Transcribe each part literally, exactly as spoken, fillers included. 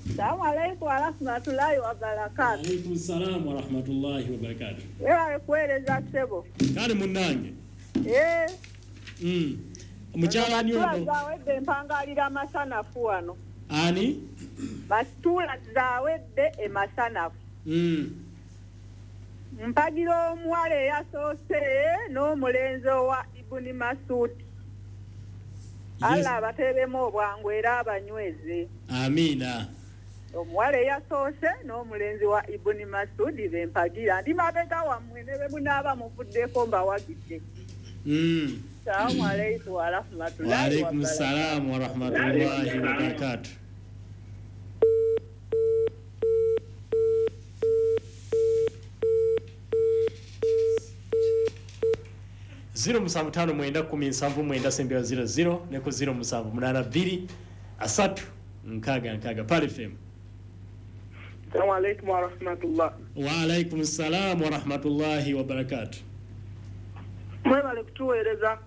Salamu alaikum warahmatullahi wabarakatuh. Alaikum salam warahmatullahi wabarakatuh. Wewe kueleza sebo. Kale munnange. Eh. Mm. Omukyala ani ono? Zawedde mpangalira masanafu wano. Ani? Basitula zawedde emasanafu. Mm. Mpagira omuwala eyasoose n'omulenzi owa Ibuni Masudi. Allah abateeremu obwangu era abanyweze. Amiina. Omuwala eyasoose n'omulenzi wa Ibuni Masudi bempagira. Ndi mabega wammwe ne bwe munaaba muvuddeko mbawagidde. Mm. Assalamu alaikum warahmatullahi Wa alaikum salam warahmatullahi wabarakatuh. zero musanvu tano mwenda kumi nsanvu mwenda sembera zero zero neko zero musanvu munana bbiri asatu nkaga nkaga Pal F M. Assalamu alaikum warahmatullah. Wa alaikum salam warahmatullahi wabarakatuh. Mwebale kutuweereza.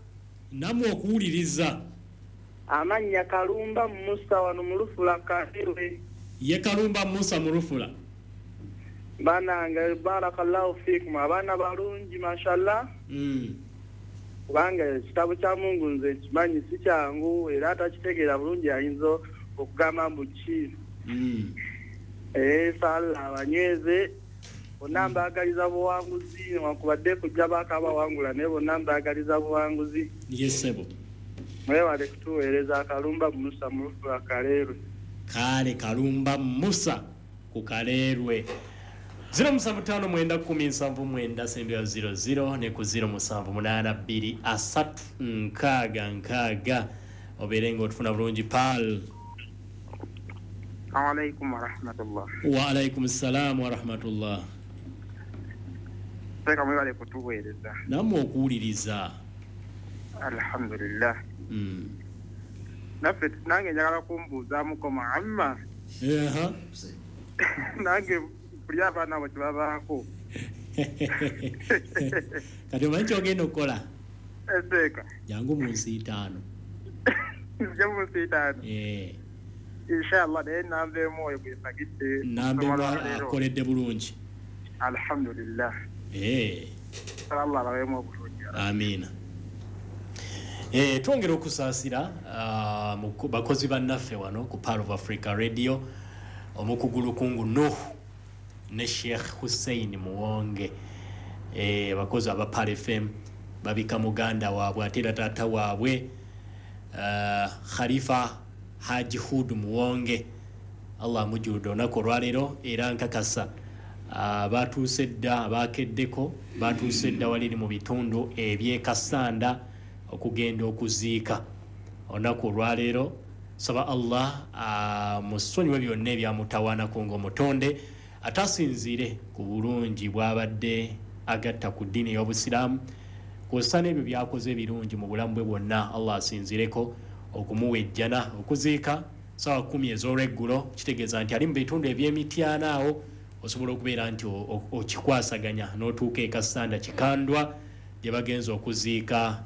Namwe okuwuliriza. Amannya Kalumba Musa wano mu Lufula Kairwe. Ye Kalumba Musa mu Lufula. Banange barakallahu fikum, abaana balungi mashallah. Mm. Kubanga ekitabo kya Mungu nze kimanyi si kyangu era atakitegeera bulungi ayinza okugamba mbu ki. Mm. Eh, sala abanyweze bonna mbaagaliza buwanguzi newankubadde kujja baakabawangula naye bonna mbaagaliza buwanguzi. Yes sebo. Mwebale kutuweereza. Kalumba Musa mu Lufula Kaleerwe. Kale Kalumba Musa ku Kaleerwe. zero musanvu tano mwenda kumi nsanvu mwenda sembera zero zero ne ku zero musanvu munana bbiri asatu nkaaga nkaaga obeere ng'otufuna bulungi. Pal. Assalamu alaikum warahmatullah. Wa alaikum salam warahmatullah. Seka mwebale kutuweereza. Namwe okuwuliriza. Alhamdulillah. Mm. Naffe nange njagala kumbuuzaamuko Muhammad. Aha. Nange buli abaana abo kyebabaako. Kati omanyi ky'ogenda okukola? Eseeka. Jangu mu nsi itaano. Nzije mu nsi itaano. Eh. Inshallah naye namba emu oyo gwe mpagidde. Namba emu akoledde bulungi. Alhamdulillah. Eh. Allah abaweemu obulungi. Amiina. Eh, twongera okusaasira uh, bakozi bannaffe wano ku Pearl of Africa Radio, omukugulu kungu Nuh ne Sheikh Hussein Muwonge. Eh, bakozi aba Pearl F M babika muganda waabwe ate era taata waabwe uh, Khalifa Haji Hud Muwonge. Allah amujjuludde olunaku olwaleero era nkakasa uh, batuuse dda abakeddeko batuuse dda waliri mu bitundu eby'e Kasanda okugenda okuziika olunaku olwaleero. Saba Allah amusonyiwe byonna ebyamutawaanako ng'omutonde, atasinziire ku bulungi bw'abadde agatta ku ddiini ey'obusiraamu kw'ossa n'ebyo by'akoze ebirungi mu bulamu bwe bwonna. Allah asinziireko okumuwa ejjana. Okuziika ssaawa kkumi ez'olweggulo, kitegeeza nti ali mu bitundu eby'emityana awo osobola okubeera nti okikwasaganya n'otuuka e Kasanda Kikandwa gye bagenza okuziika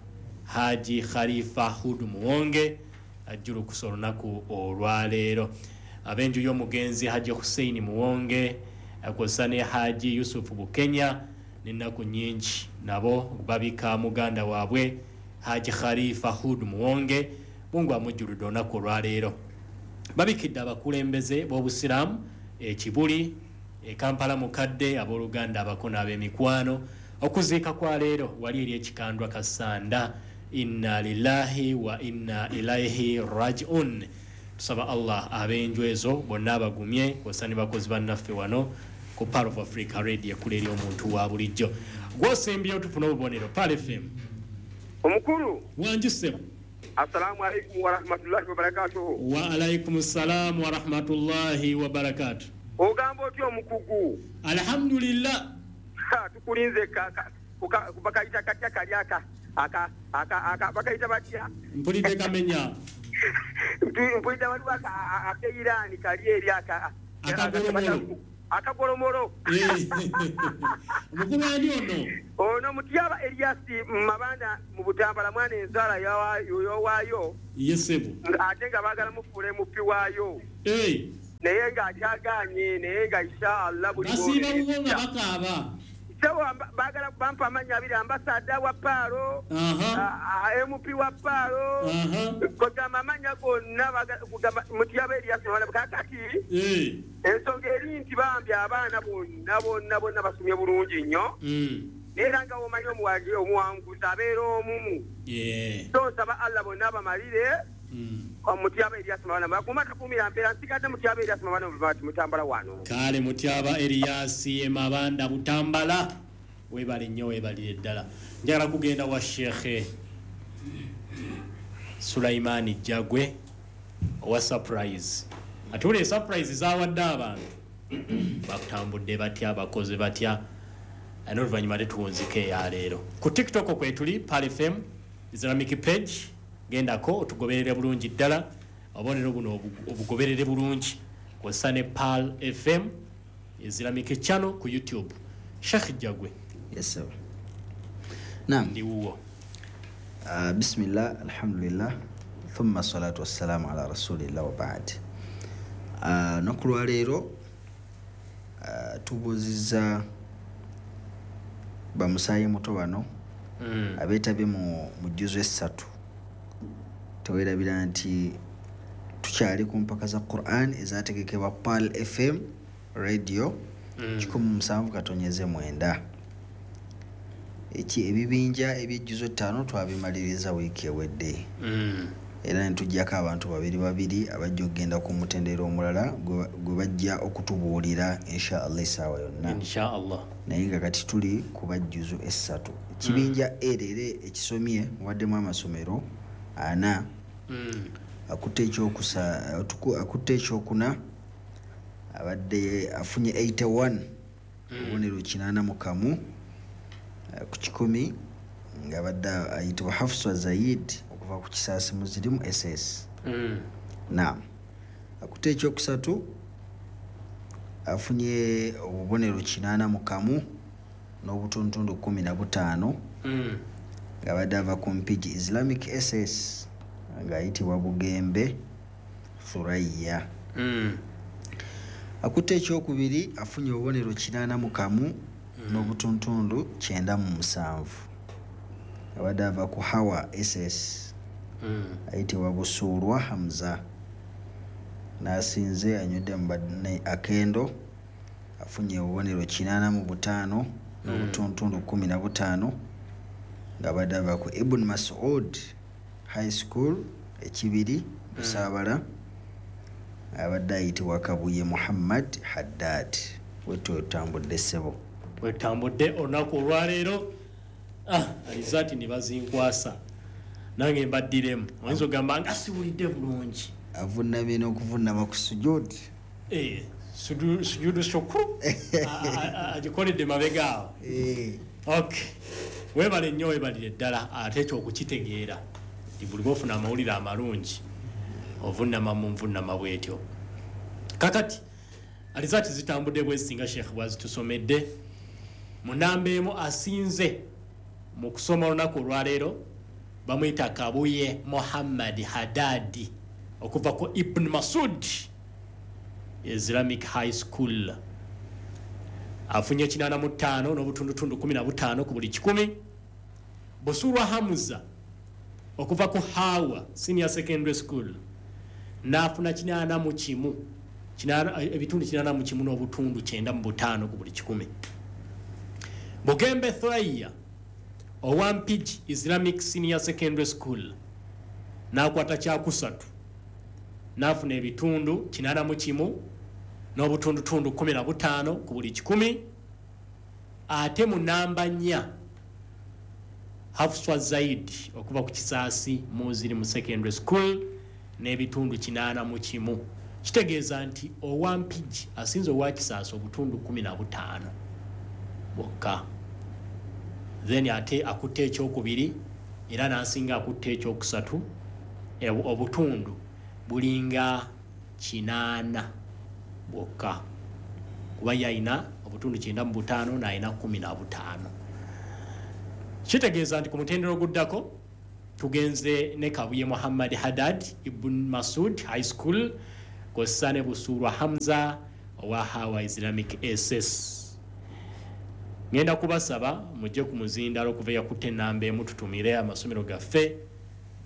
Haji Khalifa Hud Muwonge ajjulukusa olunaku olwaleero. Ab'enju y'omugenzi Haji Hussein Muwonge kw'ossa ne Haji Yusuf Bukenya n'ennaku nnyingi nabo babika muganda waabwe Haji Khalifa Hud Muwonge. Mungu amujjuludde olunaku olwaleero. Babikidde abakulembeze b'obusiraamu e Kibuli, e Kampala mukadde, abooluganda, abako n'ab'emikwano. Okuziika kwa leero wali eri ekikandwa Kasanda. Inna lillahi wa inna ilaihi rajiun. Tusaba Allah ab'enju ezo bonna abagumye kw'ossa ne bakozi bannaffe wano ku Pearl of Africa Radio ekula eri omuntu wa bulijjo. Gw'osembyeyo tufune obubonero. Pearl F M. Omukulu. Wangi ssebo. Assalamu alaikum warahmatullahi wabarakatuh. Wa alaikum salam warahmatullahi wabarakatuh. Ogamba otya omukugu? Alhamdulillah. Tukulinze bakayita katya kali aka aka aka aka bakayita batya? Mpulidde kamenya. Mpulidde waliwo akeirani kali eri aka akagolomolo. Akagolomolo. Omukulu ani ono? Ono Mutyaba Eliasi Mabanda mu Butambala, mwana enzala yowaayo. Yes sebo. Ate nga baagala mufuule mupi waayo. Eh. Naye ng'akyagaanye naye nga inshallah buli basiiba wuwo nga bakaaba. Sebo baagala bampa amannya abiri, ambasada wa Paalo, M P wa Paalo, kugamba amannya gonna kugamba Mutyaba Erias Mabanda. Kaakati ensonga eri nti bambi abaana bonna bonna bonna basomye bulungi nnyo. Naye era nga bw'omanyi omuwanguzi abeera omu. So nsaba Allah bonna bamalire. Mutyaba Erias Mabanda bakuma takumira mpeera nsigadde Mutyaba Erias Mabanda Mutambala wano. Kale Mutyaba Erias Mabanda Butambala, weebale nnyo, weebalire ddala. Njagala kugenda wa Sheikh Sulaimani Jagwe owa surprise. Ate surprise zaawadde abantu bakutambudde batya, bakoze batya, n'oluvannyuma tetuwunzika eyaleero. Ku TikTok kwetuli Pearl F M Islamic page, gendako otugoberere bulungi ddala, obubonero buno obugoberere bulungi kw'ossa ne Pearl F M Islamic channel ku YouTube. Sheikh Jagwe. Yes sir. Naam. Ndi wuwo. Uh, bismillah, alhamdulillah, thumma salatu wassalamu ala rasulillah wa ba'd. Uh, noku lwaleero uh, tubuuzizza bamusaayi muto bano mm. abeetabye mu mujjuzo essatu. Teweerabira nti tukyali ku mpaka za Quran ezategekebwa Pearl F M Radio mm. kikumi musanvu katonyeze mwenda. Eki ebibinja ebyejjuzo ttaano twabimaliriza wiiki ewedde. Mm. Era ne tuggyako abantu babiri babiri abajja okugenda ku mutendera omulala gwe bajja okutubuulira insha Allah essaawa yonna. Insha Allah. Naye nga kati tuli ku bajjuzo essatu. Ekibinja mm. erere ekisomye mubaddemu amasomero ana mm. akutte ekyokusa akutte ekyokuna abadde afunye eighty-one obubonero mm. kinaana mu kamu ku kikumi ng'abadde ayitibwa Hafsa Zaid okuva ku Kisaasi Muzirimu S S. Mm. Naam. Akutte ekyokusatu afunye obubonero kinaana mu kamu n'obutundutundu kkumi na butaano mm. ng'abadde ava ku Mpigi Islamic S S ng'ayitibwa Bugembe Thuraya. Mm. Akutte ekyokubiri afunye obubonero kinaana mu kamu mm. n'obutundutundu kyenda mu musanvu abadde ava ku Hawa S S mm. ayitibwa Busuulwa Hamza. N'asinze anywedde mu banne akendo afunye obubonero kinaana mu butaano n'obutundutundu kkumi na butaano ng'abadde ava ku Ibn Mas'ud High School Ekibiri Busaabala abadde ayitibwa Kabuye Muhammad Haddad. Wetwe otambudde ssebo. Wetambudde olunaku olwaleero. Ah, alizaati ne bazinkwasa nange mbaddiremu. Oyinza ogamba nga siwulidde bulungi. Avunnamye n'okuvunnama ku sujudi. Eh, sujudu shukuru agikoledde mabega awo. Eh. Okay. Weebale nnyo, weebalire ddala ate ekyo okukitegeera nti buli lw'ofuna amawulire amalungi ovunnama mu nvunnama bw'etyo. Kakati alizaati zitambudde bwesinga Sheikh bwazitusomedde. Mu namba emu asinze mu kusoma olunaku olwaleero bamuyita Kabuye Muhammad Haddadi okuva ku Ibn Masud Islamic High School. Afunye kinaana mu ttaano n'obutundutundu kkumi na butaano ku buli kikumi. Busulwa Hamza okuva ku Hawa Senior Secondary School n'afuna kinaana mu kimu ebitundu kinaana mu kimu n'obutundu kyenda mu butaano ku buli kikumi. Bugembe Thuraya owa Mpigi Islamic Senior Secondary School n'akwata kyakusatu n'afuna ebitundu kinaana mu kimu n'obutundutundu kkumi na butaano ku buli kikumi. Ate mu namba nnya Hafswa Zaid okuva ku Kisaasi Muzirimu Secondary School n'ebitundu kinaana mu kimu. Kitegeeza nti owa Mpigi asinze owa Kisaasi obutundu kkumi na butaano bwokka. Then ate akutte ekyokubiri era n'asinga akutte ekyokusatu obutundu bulinga kinaana bwokka, kuba yayina obutundu kyenda mu butaano n'ayina kkumi na butaano. Kitegeeza nti ku mutendera oguddako tugenze ne Kabuye Muhammad Haddad Ibn Masud High School Kw'ossa ne Busuulwa Hamza owa Hawa Islamic S S. Ngenda kubasaba mujje ku muzindalo okuva eyakutte ennamba emu tutumire amasomero gaffe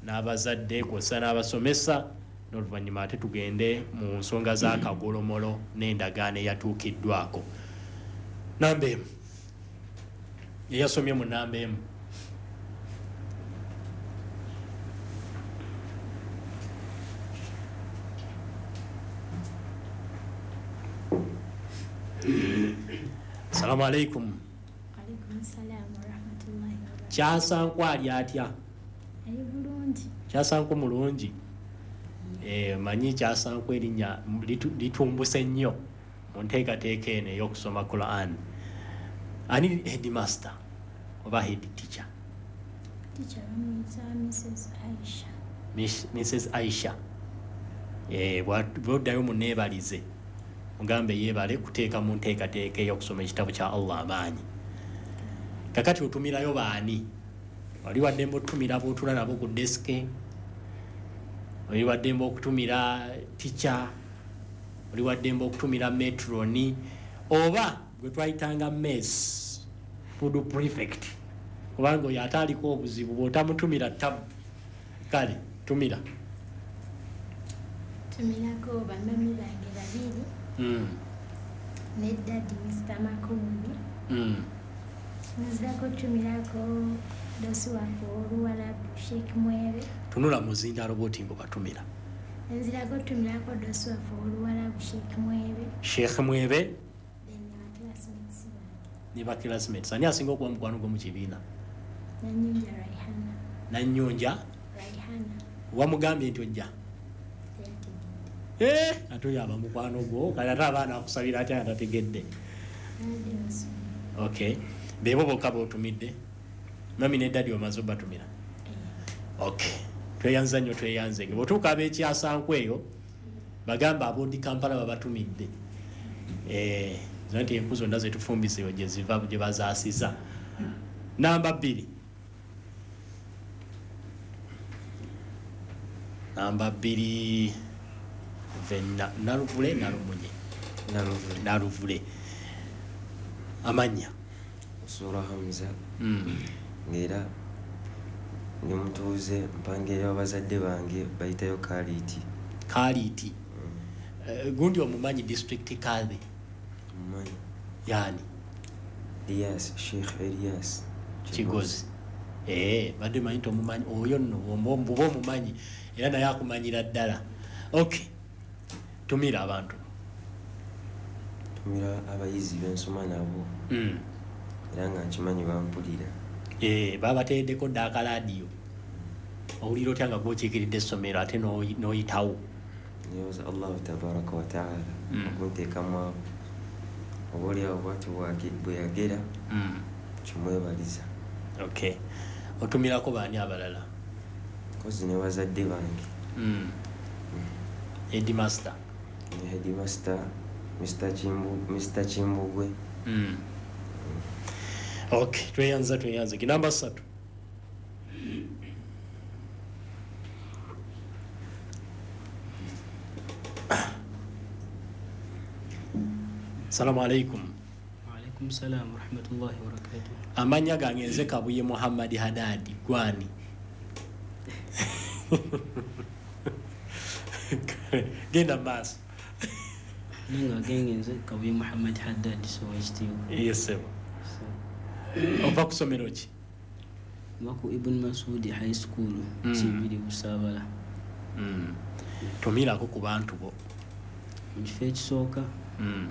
n'abazadde kw'ossa n'abasomesa, n'oluvannyuma ate tugende mu nsonga z'akagolomolo n'endagaano eyatuukiddwako. Namba emu, eyasomye mu namba emu. Assalamu alaikum. Alaikum salam wa rahmatullahi wa barakatuh. Kyasanku ali atya? Ali bulungi. Kyasanku mulungi. Eh, manyi Kyasanku erinnya litumbuse nnyo mu nteekateeka eno ey'okusoma Quran. Ani headmaster oba head teacher? Teacher bamuyita Missus Aisha. Missus Aisha. Eh, bw'oddayo munneebalize, mugambe yeebale kuteeka mu nteekateeka ey'okusoma ekitabo kya Allah amaanyi. Kakati otumirayo baani? Oli waddembe otutumira b'otuula nabo ku desike, oli waddembe okutumira teacher, oli waddembe okutumira matroni, oba gwe twayitanga mess food prefect, kubanga oyo ate aliko obuzibu bw'otamutumira tabu. Kale tumira. Tumirako bamami bange babiri. Mm. Ne daddy Mister Makumbi. Mm. Nzirako tumirako dosi waffe oluwalabu Sheikh Mwebe. Tunula muzindalo bw'oti ng'obatumira. Nzirako tumirako dosi waffe oluwalabu Sheikh Mwebe. Sheikh Mwebe. Then ne ba classmates bange. Ne ba classmates. Ani asinga okuba mukwano gwo mu kibiina? Nanyonja Raihana. Nanyonja Raihana. Wamugambye nti ojja? Eh, ate oyo aba mukwano gwo, kale ate abaana akusabira atya nga tategedde. Okay. Bebo bokka b'otumidde? Mami ne daddy omaze obatumira? Okay. Tweyanza nnyo, tweyanze. Bw'otuuka ab'ekyasanku eyo, bagamba ab'odi Kampala babatumidde. Eh, nti enku zonna ze tufumbise eyo gye ziva gye bazaasiza. Namba bbiri. Namba bbiri Venna Naluvule Nalumunye. Naluvule. Naluvule. Amannya. Sura Hamza. Mm. Ngera ndi mutuuze mpangeyo abazadde bange bayitayo Kaliiti. Kaliiti. Mm. Uh, gundi omumanyi district kadhi? Mumanyi. Yani? Elias, Sheikh Elias Kigozi. Eh, badde manyi nti omumanyi oyo nno bw'oba omumanyi era naye akumanyira ddala. Okay. Tumira abantu. Tumira abayizi b'ensoma nabo. Mm. Era nga nkimanyi bampulira. Eh, babateeddeko dda akalaadiyo. Owulira otya nga gw'okiikiridde essomero ate n'oyitawo? Neebaza Allahu tabaraka wa taala Mm. okunteekamu abo. Oba oliawo bw'atyo bwe yagera, Mm. kimwebaliza. Okay. Otumirako baani abalala? Nkozi ne bazadde bange. Mm. Headmaster. Ne headmaster Mister Chimbu, Mister Chimbugwe. Mm. Okay, tweyanza tweyanze. Namba ssatu. Assalamu alaikum. Wa alaikum salam wa rahmatullahi wa barakatuh. Amannya gange nze Kabuye Muhammad Hadadi gwani. Genda maaso. Ninga genge nze Kabuye Muhammad Haddad so ekitiibwa. Yes sir. Ova ku ssomero ki? Nva ku Ibn Masudi High School, Mm. Kibiri Busaabala. Mm. Tumirako ku bantu bo. Mu kifo ekisooka, Mm.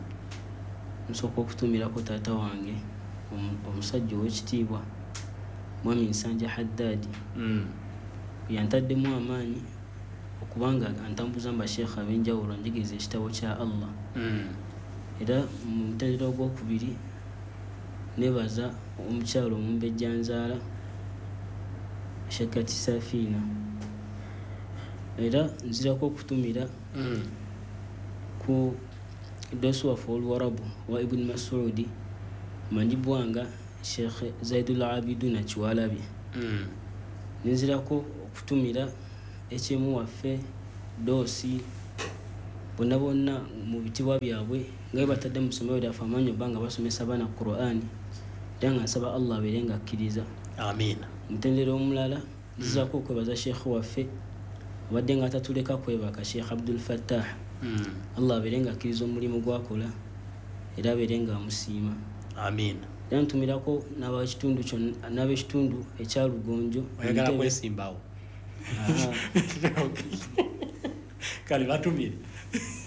nsooka okutumirako taata wange omusajja ow'ekitiibwa Mwami Nsanja Haddad. Mm. Yantaddemu amaanyi okubanga antambuza mu basheekh ab'enjawulo anjigiriza ekitabo kya Allah. Mm. Era mu mutendera ogwokubiri nebaza omukyalo omumbejja nzaala Shekati Safina. Era nzirako okutumira mm. ku dosi waffe oluwarabu wa Ibn Masudi manjibwanga Sheikh Zaidul Abiduna Kiwalabye. Mm. Nzirako okutumira ekyemu waffe dosi Bonna bonna mu bitibwa byabwe nga bwe batadde mu ssomero lyaffe amaanyi obba nga basomesa abaana Qur'ani, era nga nsaba Allah abeere nga akkiriza. Amiina. Mutendera omulala nzizaako okwebaza Sheikh waffe abadde nga atatuleka kwebaka, Sheikh Abdul Fattah. Allah abeere nga akkiriza omulimu gwakola era abeere nga amusiima. Amiina. Era ntumirako n'abekitundu kyonna, n'abekitundu ekya Lugonjo. Oyagala kwesimbawo? Kale batumire.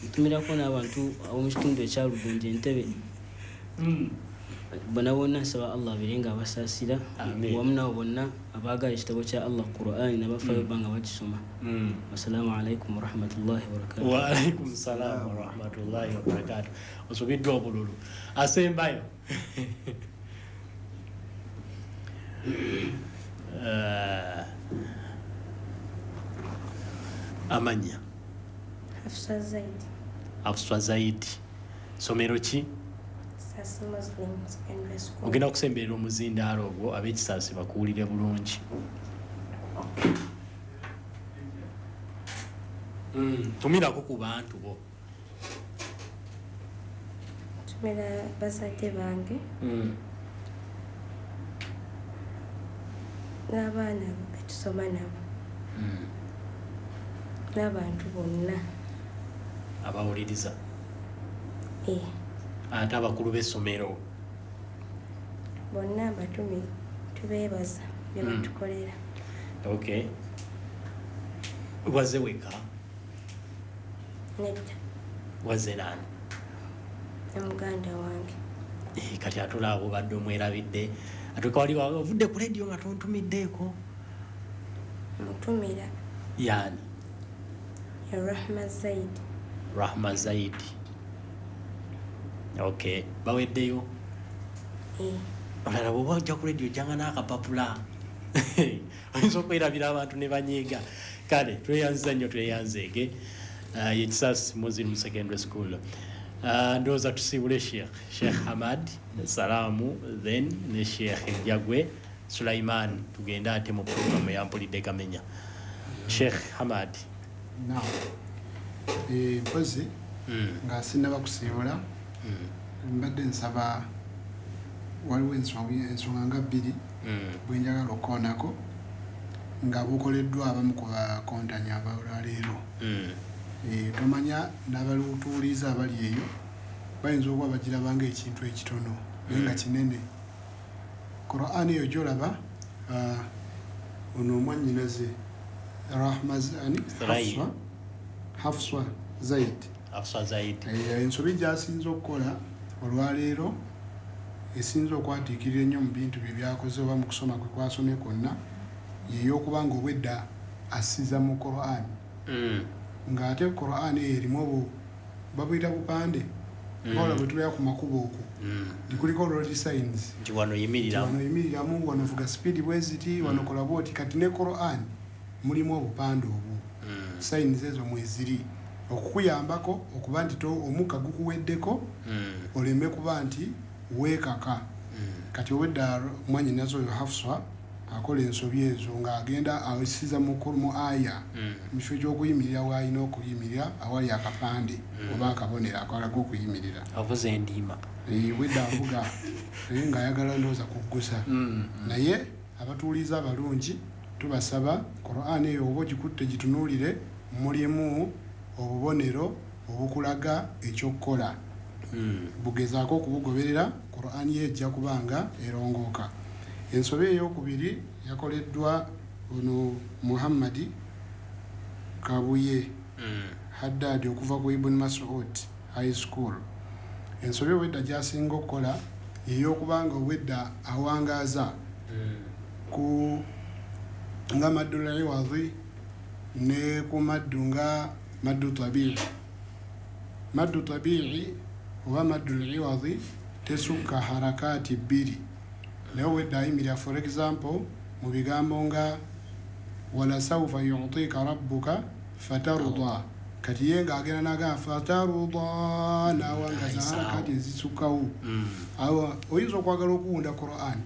Ntumirako n'abantu ab'omu kitundu ekya Lugonjo Entebbe. Bonna bonna nsaba Allah abeere nga abasaasira, wamu nabo bonna abaagala ekitabo kya Allah Qur'ani n'abafaayo bba nga bakisoma. Wassalaamu alaikum warahmatullahi wabarakatuh. Wa alaikum salaam warahmatullahi wabarakatuh. Osubiddwa obululu. Asembayo. Amanya Hafsa Zaidi. Hafsa Zaidi. Somero ki? Kisasi Muslim Secondary School. Ogenda okusemberera omuzindaalo ogwo ab'Ekisaasi bakuwulire bulungi. Mm, tumirako ku bantu bo. Ntumira bazadde bange. Mm. N'abaana be tusoma nabo. Mm. N'abantu bonna abawuliriza. Eh. Ate abakulu b'essomero bonna abatumi tubeebaza bye batukolera. Okay. Waze weka? Nedda. Waze nani? Ne muganda wange. Eh, kati atula obadde omwerabidde. Atuka wali ovudde ku radio nga tontumiddeeko. Mutumira. Yani? Ya Rahma Zaidi. Rahma Zaidi. Okay, baweddeyo? Eh. Olala bw'oba ojja ku radio ojjanga n'akapapula. Oyinza okwerabira abantu ne banyiiga. Kale tweyanziza nnyo, tweyanzeege. Uh, ye Kisasi Muslim Secondary School. Uh, ndowooza tusiibule Sheikh Sheikh Hamad Salaamu, then ne Sheikh Jagwe Sulaiman, tugende ate mu programu ya Mpulidde Kamenya. Sheikh Hamad. Naam. Eh, mpozi nga sinnaba kusiibula, mbadde nsaba waliwo ensonga nga bbiri bwe njagala okukoonako nga bukoleddwa abamu ku bakontanya abalwaleero. Tomanya n'abalutuuliza abali eyo bayinza okuba bagiraba ng'ekintu ekitono naye nga kinene. Qur'ani eyo gy'olaba, ono omwannyinaze Rahma Hafswa Hafswa Zaid. Hafswa Zaid. Ensobi gy'asinze okukola olwaleero esinze okwatiikirira ennyo mu bintu bye byakoze oba mu kusoma kwe kwasomye kwonna ye y'okuba nga obwedda assiza mu Qur'an. Ng'ate Qur'an eyo erimu obu babuyita bupande. Wabula bwe tubeera ku makubo okwo kuliko road signs. Nti wano yimiriramu. Wano yimiriramu, wano vuga speed bwe ziti, wano kola bw'oti. Kati ne Qur'an mulimu obupande obwo. Signs ezo mweziri okukuyambako okuba nti omukka gukuweddeko oleme kuba nti weekaka. Kati obwedda mwannyinaze oyo Hafswa akola ensobi ezo ng'agenda awesiza mu aya mu kifo ky'okuyimirira w'alina okuyimirira awali akapande oba akabonero akalaga okuyimirira. Avuze endiima. Obwedda avuga naye ng'ayagala ndowooza kuggusa. Naye abatuuliza abalungi tubasaba Qur'an eyo oba ogikutte gitunuulire, mulimu obubonero obukulaga ekyokukola. Bugezaako okubugoberera, Qur'an ye ejja kuba nga erongooka. Ensobi ey'okubiri yakoleddwa ono Muhammadi Kabuye Haddad okuva ku Ibn Mas'ud High School. Ensobi obwedda gy'asinga okukola ey'okuba nga obwedda awangaaza ku nga maddul iwadhi ne ku maddu nga maddu tabi'i. Maddu tabi'i oba maddul iwadhi tesukka harakati bbiri. Naye obwedda ayimirira, for example, mu bigambo nga wala sawfa yu'tika rabbuka fataruda. Kati ye ng'agenda n'agamba fataruda n'awangaza harakati ezisukkawo. Awo oyinza okwagala okuwunda Qur'an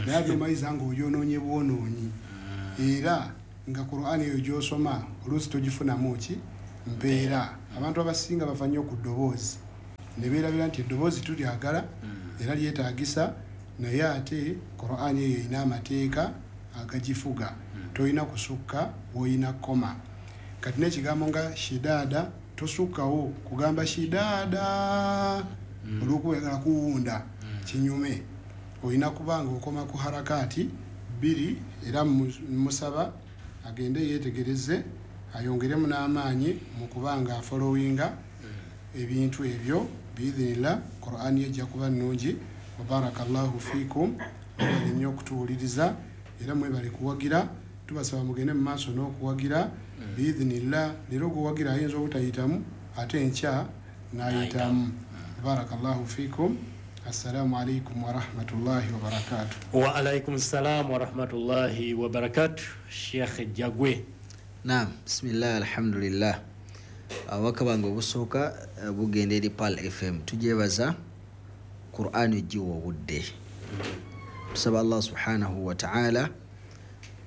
naye ate omayiza ng'ogyonoonye bwonoonyi. Era nga Qur'an eyo gy'osoma oluusi togifunamu ki Mpeera. Abantu abasinga bava nnyo ku ddoboozi ne beerabira nti eddoboozi tulyagala era lyetaagisa, naye ate Qur'an eyo erina amateeka agagifuga. Tolina kusukka w'olina kukoma. Kati n'ekigambo nga shidaada tosukkawo kugamba shidaada olw'okuba oyagala kuwunda kinyume. Olina kuba nga okoma ku harakati bbiri, era musaba agende yeetegereze ayongeremu n'amaanyi mu kuba nga afollowinga ebintu ebyo biidhinillah. Qur'an ejja kuba nnungi. Wabarakallahu fiikum, mwebale nnyo okutuwuliriza era mwebale kuwagira. Tubasaba mugende mu maaso n'okuwagira biidhinillah. Leero gwewagira ayinza obutayitamu ate enkya n'ayitamu. Barakallahu fiikum. Assalamu alaikum warahmatullahi wabarakatuh. Wa alaikum salam warahmatullahi wabarakatuh. Sheikh Jagwe. Naam, bismillah, alhamdulillah. Ababaka bange obusooka bugenda eri Pearl F M. Tujebaza Qur'an egiwa obudde. Tusaba Allah subhanahu wa ta'ala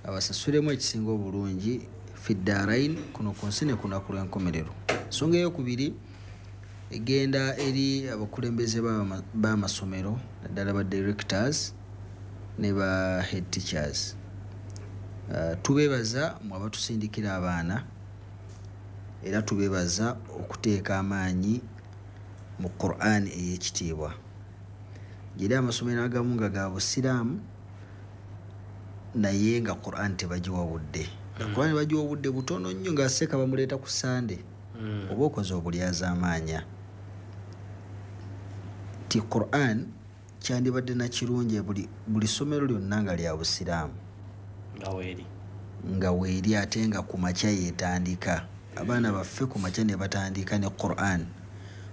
abasasulemu ekisinga obulungi fi ddarain, kuno ku nsi ne ku lunaku lw'enkomerero. Ensonga eyokubiri egenda eri abakulembeze b'amasomero naddala ba directors ne ba head teachers. Uh, tubeebaza mwe abatusindikira abaana, era tubeebaza okuteeka amaanyi mu Qur'an ey'ekitiibwa. Geri amasomero agamu nga ga busiraamu naye nga Qur'an tebagiwa budde. Mm. Qur'an bagiwa budde butono nnyo nga seeka bamuleeta ku Sunday. Mm. Oba okoze obulyazaamaanya. Ti Qur'an kyandibadde na kirungi buli buli ssomero lyonna nga lya busiraamu. Nga weeri. Nga weeri ate nga ku makya yeetandika. Abaana baffe ku makya ne batandika ne Qur'an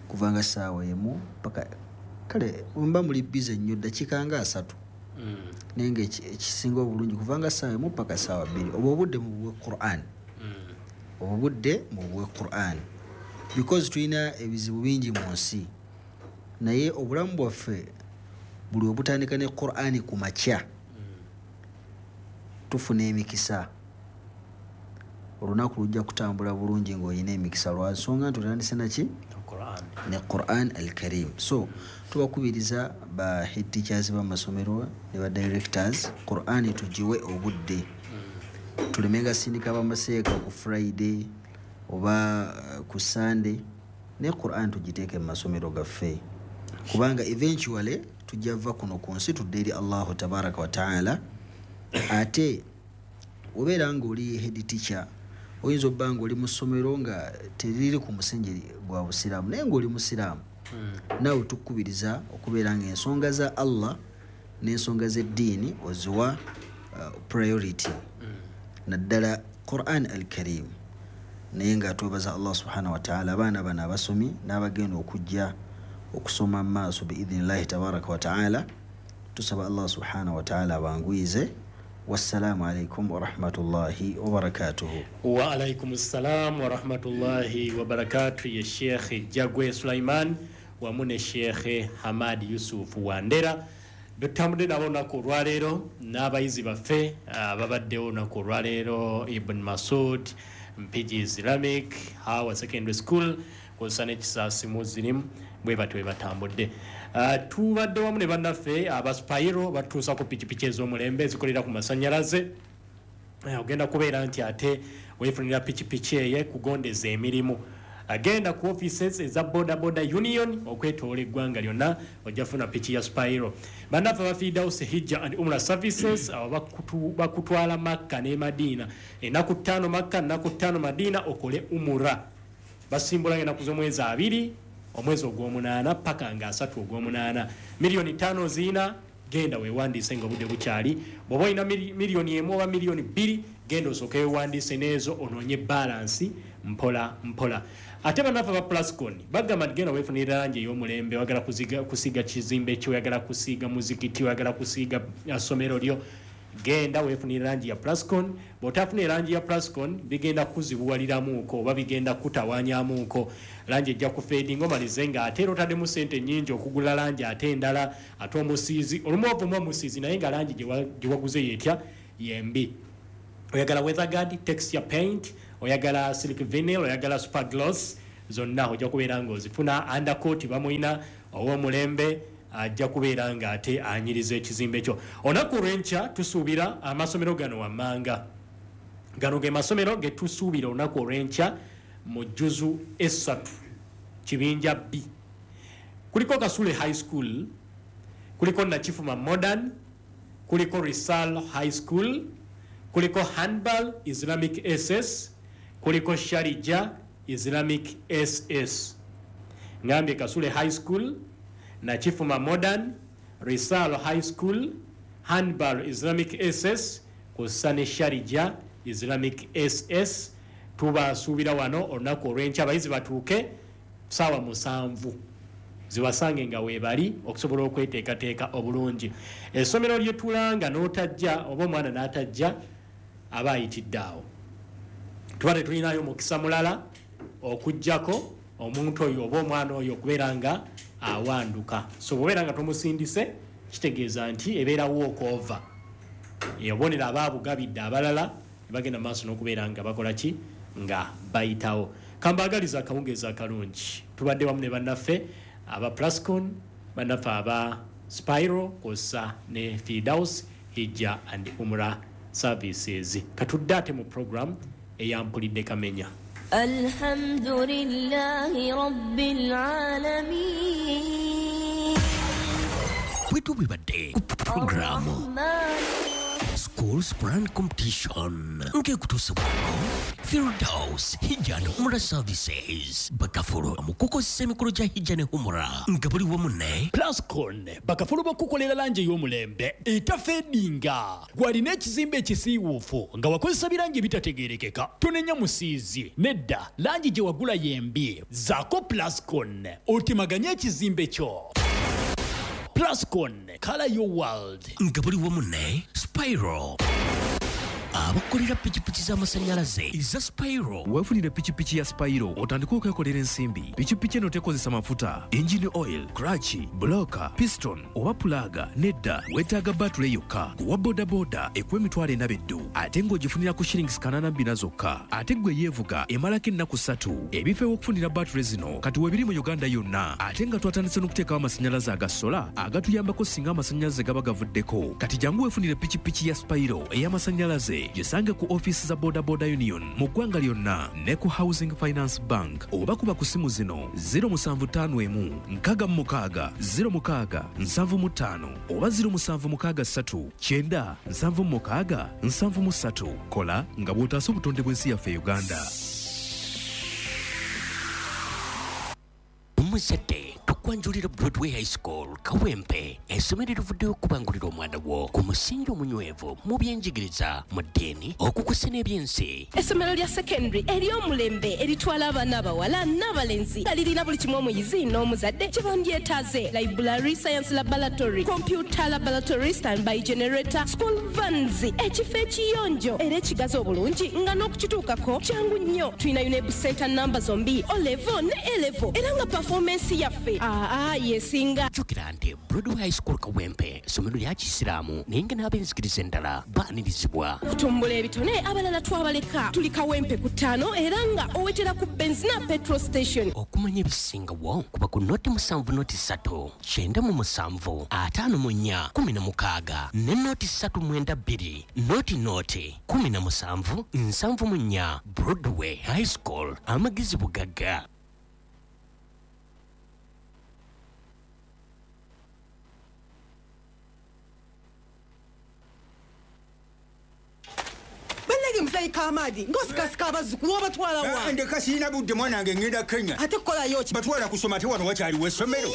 kuva nga ssaawa emu paka kale mba muli busy nnyo ddakiika nga asatu. Mm. Naye nga ekisinga obulungi kuva nga ssaawa emu paka ssaawa bbiri. Obwo obudde mubuwe Qur'an. Mm. Obwo budde mubuwe Qur'an. Because tulina ebizibu bingi mu nsi. Naye obulamu bwaffe buli obutandika ne Qur'an ku makya. Mm. Tufuna emikisa. Olunaku lujja kutambula bulungi ng'olina emikisa lwa nsonga nti otandise naki? Qur'an. Ne Qur'an al-Karim. So tubakubiriza ba head teachers b'amasomero ne ba directors Qur'an tugiwe obudde. Mm. Tulemenga sindika bamaseeka ku Friday oba ku Sunday, ne Qur'an tugiteeke mu masomero gaffe. Kubanga eventually tujja va kuno ku nsi tudde eri Allahu tabaraka wa ta'ala. Ate obeera ng'oli head teacher oyinza obba ng'oli mu ssomero nga teriri ku musingi gwa busiraamu naye ng'oli musiraamu. Mm. Naawe tukukubiriza okubeera ng'ensonga za Allah n'ensonga z'eddiini oziwa uh, priority. Mm. Naddala Qur'an al-Karim. Naye nga twebaza Allah subhanahu wa ta'ala abaana bano abasomi n'abagenda okujja okusoma mu maaso biidhinillahi tabaraka wa ta'ala. Tusaba Allah subhanahu wa ta'ala abanguyize. Wassalamu alaikum wa rahmatullahi wa barakatuhu. Wa alaikum assalam wa rahmatullahi wa barakatuhu. Ye Sheikh Jagwe Sulaiman wamu ne Sheikh Hamad Yusuf Wandera. Betambudde nabo olunaku olwaleero n'abayizi baffe ababaddewo olunaku olwaleero Ibn Masud, Mpigi Islamic, Hawa Secondary School, kw'ossa n'Ekisaasi Muslim, bwe batyo bwe batambudde. Uh, tubadde wamu ne bannaffe aba Spiro batuusa ku pikipiki ez'omulembe ezikolera ku masannyalaze. Uh, ogenda kubeera nti ate weefunira pikipiki eyo kugondeza emirimu. Agenda ku offices eza Boda Boda Union okwetoola eggwanga lyonna ojja kufuna piki ya Spiro. Bannaffe aba Firdaus Hijja and Umrah Services abo bakutwala Makka ne Madina. Ennaku ttaano Makka, ennaku ttaano Madina okole Umrah. Basimbula ennaku z'omwezi abiri omwezi ogw'omunaana paka nga asatu ogw'omunaana. Miliyoni ttaano ziina, genda weewandiise nga obudde bukyali. Bw'oba olina miliyoni emu oba miliyoni bbiri, genda osooke weewandiise n'ezo onoonye balansi mpola mpola. Ate bannaffe aba Plascon bagamba nti genda weefunire langi ey'omulembe, oyagala kusiiga kizimbe kyo, oyagala kusiiga muzikiti, oyagala kusiiga ssomero lyo, genda weefunire langi ya Plascon. Bw'otafuna langi ya Plascon bigenda kuzibuwaliramuuko oba bigenda kutawaanyamuuko. Langi ejja kufeedinga omalize nga ate era otaddemu ssente nnyingi okugula langi ate endala ate omusiizi olumu ovumu omusiizi naye nga langi gye waguze yeetya yembi. Oyagala weatherguard, texture paint, Oyagala silk vinyl, oyagala super gloss, zonna ojja kubeera ng'ozifuna. Undercoat bamuyina ow'omulembe, ajja kubeera ng'ate anyiriza ekizimbe kyo. Olunaku olw'enkya tusuubira amasomero gano wammanga. Gano ge masomero ge tusuubira olunaku olw'enkya mu jjuzu esatu kibinja B. Kuliko Kasule High School, kuliko Nakifuma Modern, kuliko Risal High School, kuliko Handball Islamic S S, kuliko Sharija Islamic S S. Ngambye Kasule High School, Nakifuma Modern, Risal High School, Handball Islamic S S, kussa ne Sharija Islamic S S. Tubasuubira wano olunaku olw'enkya abayizi batuuke ssaawa musanvu zibasange nga weebali okusobola okweteekateeka obulungi. Essomero lye tulanga n'otajja oba omwana n'atajja aba ayitidde awo. Tuba tetulinayo mukisa mulala okuggyako omuntu oyo oba omwana oyo okubeera nga awanduka. So bw'obeera nga tomusindise kitegeeza nti ebeera walk over. Obubonero aba abugabidde abalala ne bagenda mu maaso n'okubeera nga bakola ki nga bayitawo. Kambaagaliza akawungeezi akalungi. Tubadde wamu ne bannaffe aba Plascon, bannaffe aba Spiro kw'ossa ne Firdaus Hijja and Umrah Services. Katudde ate mu program eyampulidde Kamenya. Alhamdulillahi Rabbil Alamin. Bwe tubibadde ku programu Schools Grand Competition ng'ekutuusibwako Firdaus Hijja and Umrah Services, bakafulu mu kukozesa emikolo gya Hijja ne Umrah nga buli wamu ne Plascon, bakafulu b'okukolera langi ey'omulembe etafeedinga. Gw'alina ekizimbe ekisiiwuufu nga wakozesa birangi ebitategeerekeka, tonenya musiizi nedda, langi gye wagula y'embi. Zaako Plascon otemaganye ekizimbe kyo. Plascon, color your world. Nga buli wamu ne Spiro, abakolera pikipiki z'amasannyalaze eza Spiro. Weefunire pikipiki ya Spiro otandike okwekolera ensimbi. Pikipiki eno tekozesa mafuta, engine oil, clutch, bloka, piston oba pulaga. Nedda, weetaaga batule yokka. Kuwa bodaboda ekuwa emitwalo ena beddu ate ng'ogifunira ku shillings kanaana bbina zokka. Ate ggwe yeevuga emalako ennaku ssatu. Ebifo ew'okufunira batule zino kati weebiri mu Uganda yonna, ate nga twatandise n'okuteekawo amasannyalaze aga sola agatuyambako singa amasannyalaze gaba gavuddeko. Kati jangu weefunire pikipiki ya Spiro ey'amasannyalaze, gisange ku ofiisi za Boda Boda Union mu ggwanga lyonna ne ku Housing Finance Bank, oba kuba ku simu zino zero musanvu ttaano emu nkaaga mu mukaaga zero mukaaga nsanvu mu ttaano oba zero musanvu mukaaga ssatu kyenda nsanvu mu mukaaga nsanvu mu ssatu. Kola nga bw'otaasa obutonde bw'ensi yaffe Uganda. Omuzadde, tukwanjulira Broadway High School Kawempe, essomero erivuddeyo okubangulira omwana wo ku musingi omunywevu mu byenjigiriza, mu ddiini, okukusa n'ebyensi. Essomero lya secondary ery'omulembe eritwala abaana abawala n'abalenzi nga lirina buli kimu omuyizi n'omuzadde kye bandyetaaze: library, science laboratory, computer laboratory, standby generator, school vans, ekifo ekiyonjo era ekigazi obulungi nga n'okukituukako kyangu nnyo. Tulina UNEB center namba zombi, O level ne A level, era nga performance yaffe aa yesinga. Jjukira nti Broadway High School Kawempe essomero lya Kisiraamu naye nga n'ab'enzikiriza endala baanirizibwa. Okutumbula ebitone abalala twabaleka. Tuli Kawempe ku ttaano era nga owetera ku Benzina petrol station. Okumanya ebisingawo kuba ku noti musanvu noti ssatu kyenda mu musanvu ataano mu nnya kumi na mukaaga ne noti ssatu mwenda bbiri noti noti kumi na musanvu nsanvu mu nnya. Broadway High School, amagezi bugagga. Bannange muzeeyi Kamadi ng'osikasika abazzukulu obatwala wa? Ndeka sirina budde mwana wange, ngenda Kenya. Ate kukolayo ki? Batwala kusoma, ate wano wakyaliwo essomero.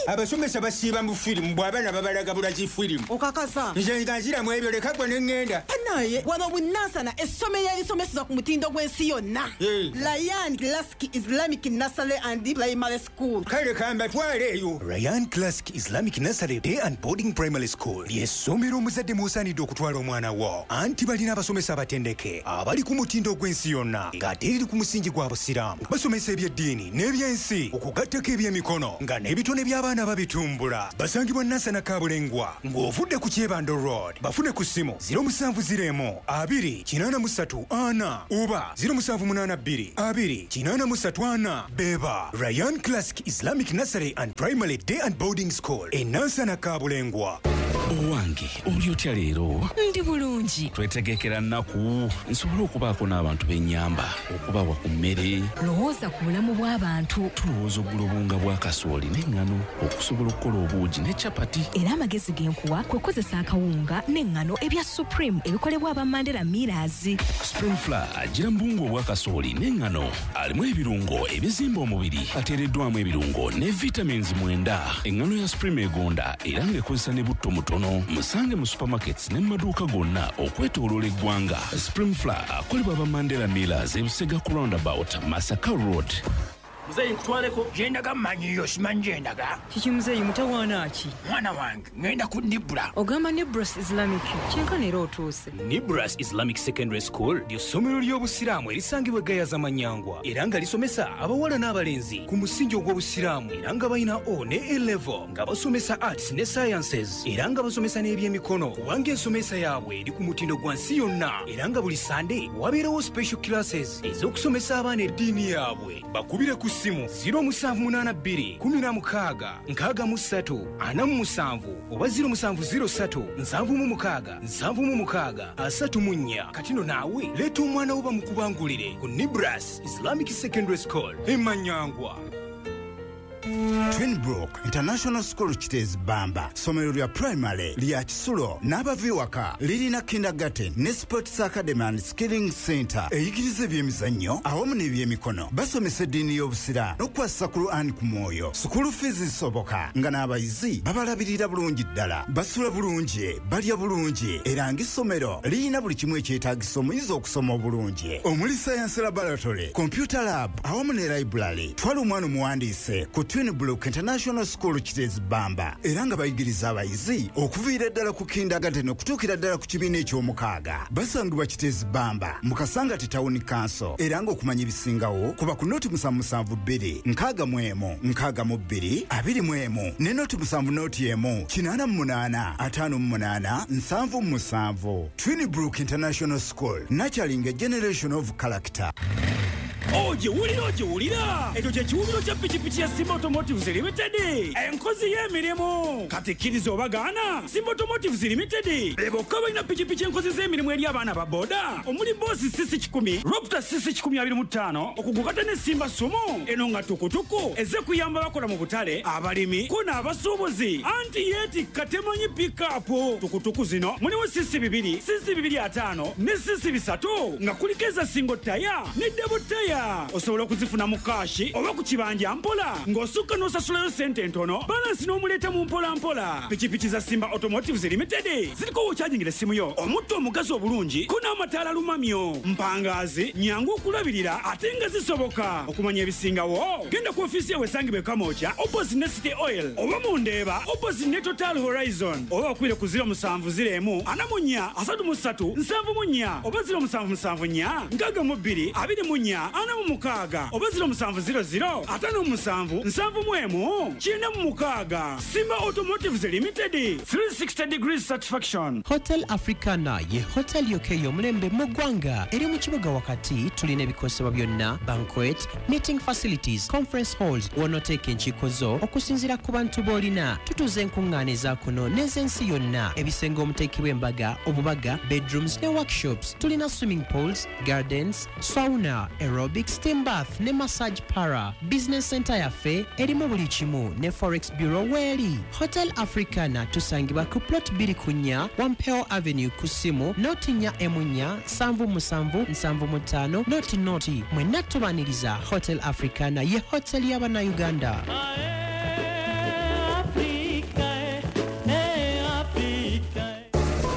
Abasomesa basiiba mu firimu, bw'abaana babalaga bulazi firimu. Okakasa? Nze nga nziramu ebyo, leka gwe ne ŋŋenda. Naye wano Bunansana essomero erisomeseza ku mutindo gw'ensi yonna, Ryan Classic Islamic Nursery and Primary School. Kale kambatwale eyo. Ryan Classic Islamic Nursery Day and Boarding Primary School ly'essomero omuzadde mw'osaanidde okutwala omwana wo, anti balina abasomesa abatendeke abali ku mutindo gw'ensi yonna ng'ate eriri ku musingi gwa Busiraamu. Basomesa ebyeddiini n'ebyensi okugattako ebyemikono nga n'ebitone by'abaana N'abaana babitumbula. Basangibwa Nansana Kabulengwa ng'ovudde ku Kyebando Road. Bafune ku ssimu ziro musanvu ziro emu abiri kinaana mu ssatu ana oba ziro musanvu munaana bbiri abiri kinaana mu ssatu ana. Beba Ryan Classic Islamic Nursery and Primary Day and Boarding School e Nansana Kabulengwa. Owange oli otya leero? Ndi bulungi. Twetegekera nnaku nsobole okubaako n'abantu b'ennyamba, okubawa ku mmere. Lowooza ku bulamu bw'abantu. Tulowooza okugula obuwunga bwa kasooli n'eŋŋano okusobola okukola obuugi ne capati. Era amagezi ge nkuwa kwe kukozesa akawunga n'eŋŋano ebya Supreme ebikolebwa aba Mandela Millers. Supreme Flour agira mu buwunga obwa kasooli n'eŋŋano, alimu ebirungo ebizimba omubiri, ateereddwamu ebirungo ne vitamins mwenda. Eŋŋano ya Supreme egonda era ng'ekozesa ne butto mutono. Musange mu supermarkets ne mu maduuka gonna okwetooloola eggwanga. Supreme Flour akolebwa aba Mandela Millers e Busega ku roundabout Masaka Road. Muzeeyi nkutwaleko. Gyendaga mmanyiyo, simanyi gyendaga. Kiki muzeeyi, mutawaana ki? Mwana wange, ŋŋenda ku Nibra. Ogamba Nibras Islamic, kyenkana era otuuse. Nibras Islamic Secondary School ly'essomero ly'Obusiraamu erisangibwa e Gayaza Manyangwa era nga lisomesa abawala n'abalenzi ku musingi ogw'Obusiraamu era nga balina O ne A level, nga basomesa arts ne sciences era nga basomesa n'ebyemikono, kubanga ensomesa yaabwe eri ku mutindo gwa nsi yonna era nga buli Sande wabeerawo special classes ez'okusomesa abaana eddiini yaabwe. Bakubire ku ssimu ziro musanvu munaana bbiri kumi na mukaaga nkaaga mu ssatu ana mu musanvu oba ziro musanvu ziro ssatu nsanvu mu mukaaga nsanvu mu mukaaga asatu mu nnya. Kati no naawe leeta omwana wo bamukubangulire ku Nibras Islamic Secondary School e Manyangwa. Twinbrook International School Kiteezi Bamba, ssomero lya primary lya kisulo n'abava ewaka, lirina kindergarten ne sports academy and skilling center eyigiriza ebyemizannyo awamu n'ebyemikono. Basomesa eddiini y'Obusiraamu n'okukwasisa Quran ku mwoyo. School fees zisoboka nga n'abayizi babalabirira bulungi ddala, basula bulungi, balya bulungi, era ng'essomero lirina buli kimu ekyetaagisa omuyizi okusoma obulungi, omuli science laboratory, computer lab awamu ne library. Twala omwana omuwandiise ku Twinbrook International School Kiteezi Bamba era nga bayigiriza abayizi okuviira ddala ku kindergarten okutuukira ddala ku kibiina eky'omukaaga. Basangibwa Kiteezi Bamba mu Kasangati Town Council era ng'okumanya ebisingawo kuba ku noti musanvu musanvu bbiri nkaaga mu emu nkaaga mu bbiri abiri mu emu ne noti musanvu noti emu kinaana mu munaana ataano mu munaana nsanvu mu musanvu. Twinbrook International School, nurturing a generation of character. Ogiwulira, ogiwulira, ekyo kye kiwubiro kya pikipiki ya Simba Automotives Limited, enkozi y'emirimu. Kati kkiriza obagaana, Simba Automotives Limited be bokka balina pikipiki enkozi z'emirimu eri abaana ba boda, omuli Boss C C kikumi, Raptor C C kikumi abiri mu ttaano, okugukata ne Simba Sumo eno nga tukutuku ezze kuyamba bakola mu butale, abalimi ko n'abasuubuzi, anti yeetikka temanyi pikapu. Tukutuku zino mulimu C C bibiri, C C bibiri ataano ne C C bisatu, nga kuliko eza single tire ne double tire. Osobola okuzifuna mu kashi oba ku kibanja mpola, ng'osukka n'osasulayo ssente ntono, balansi n'omuleeta mu mpola mpola. Pikipiki za Simba Automotives Limited ziriko w'okyajingira essimu yo, omutto omugazi obulungi ko n'amataala lumamyo, mpangaazi, nyangu okulabirira ate nga zisoboka. Okumanya ebisingawo genda ku ofiisi yawe esangibwa e Kamwokya opposite ne City Oil, oba mu Ndeeba opposite ne Total Horizon, oba bakubire ku ziro musanvu ziro emu ana mu nnya asatu mu ssatu nsanvu mu nnya oba ziro musanvu musanvu nnya nkaaga mu bbiri abiri mu nnya ana mu mukaaga oba ziro musanvu ziro ziro ataano mu musanvu nsanvu mu emu kyenda mu mukaaga. Simba Automotives Limited, three sixty degrees satisfaction. Hotel Africana ye hotel yokka ey'omulembe mu ggwanga, eri mu kibuga wakati. Tulina ebikozesebwa byonna, banquet, meeting facilities, conference halls, w'onooteeka enkiiko zo okusinziira ku bantu b'olina. Tutuuza enkuŋŋaana eza kuno n'ez'ensi yonna, ebisenge omuteekebwa embaga, obubaga, bedrooms ne workshops. Tulina swimming pools, gardens, sauna, aerobic, steam bath ne massage parlour. Business center yaffe erimu buli kimu ne forex bureau weeri. Hotel Africana tusangibwa ku plot bbiri ku nnya Wampeo Avenue, ku ssimu noti nnya emu nnya nsanvu musanvu nsanvu mu ttaano noti noti. Mwenna tubaniriza. Hotel Africana ye hotel y'Abannayuganda.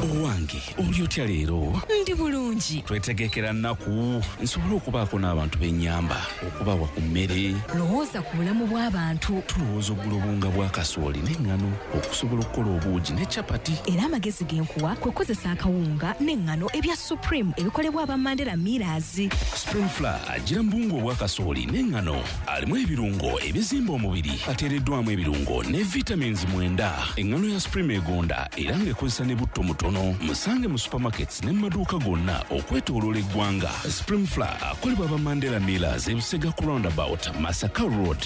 Owange oli Oli otya leero? Ndi bulungi. Twetegekera nnaku nsobole okubaako n'abantu b'ennyamba, okubawa ku mmere. Lowooza ku bulamu bw'abantu. Tulowooza okugula obuwunga bwa kasooli n'eŋŋano okusobola okukola obuugi ne capati. Era amagezi ge nkuwa kwe kukozesa akawunga n'eŋŋano ebya Supreme ebikolebwa aba Mandela Millers. Supreme Flour agira mu buwunga obwa kasooli n'eŋŋano, alimu ebirungo ebizimba omubiri, ateereddwamu ebirungo ne vitamins mwenda. Eŋŋano ya Supreme egonda era ng'ekozesa ne butto mutono. Musange mu supermarkets ne mu maduuka gonna okwetooloola eggwanga. Supreme Flour akolebwa aba Mandela Millers e Busega ku roundabout Masaka Road.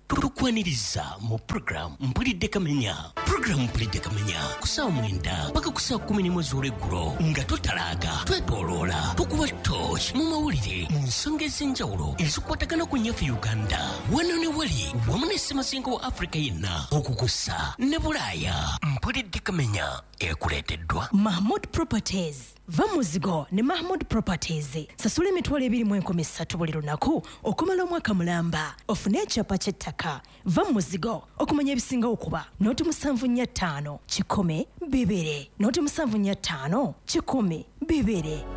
Tukwaniriza mu program Mpulidde Kamenya. Program Mpulidde Kamenya ku ssaawa mwenda paka ku ssaawa kkumi n'emu ez'olweggulo nga totalaaga, twetooloola, tukuba torch mu mawulire mu nsonga ez'enjawulo ezikwatagana ku nnyaffe Uganda wano ne wali wamu ne ssemazinga wa Afrika yenna okukusa ne Bulaaya. Mpulidde Kamenya ekuleeteddwa Mahmood Properties. Va muzigo ne Mahmood Properties. Sasula emitwalo ebiri mu enkumi ssatu buli lunaku okumala omwaka mulamba. Ofune ekyapa ky'ettaka. Va muzigo okumanya ebisinga okuba noti musanvu nnya ttaano kikumi bibiri noti musanvu nnya ttaano kikumi bibiri.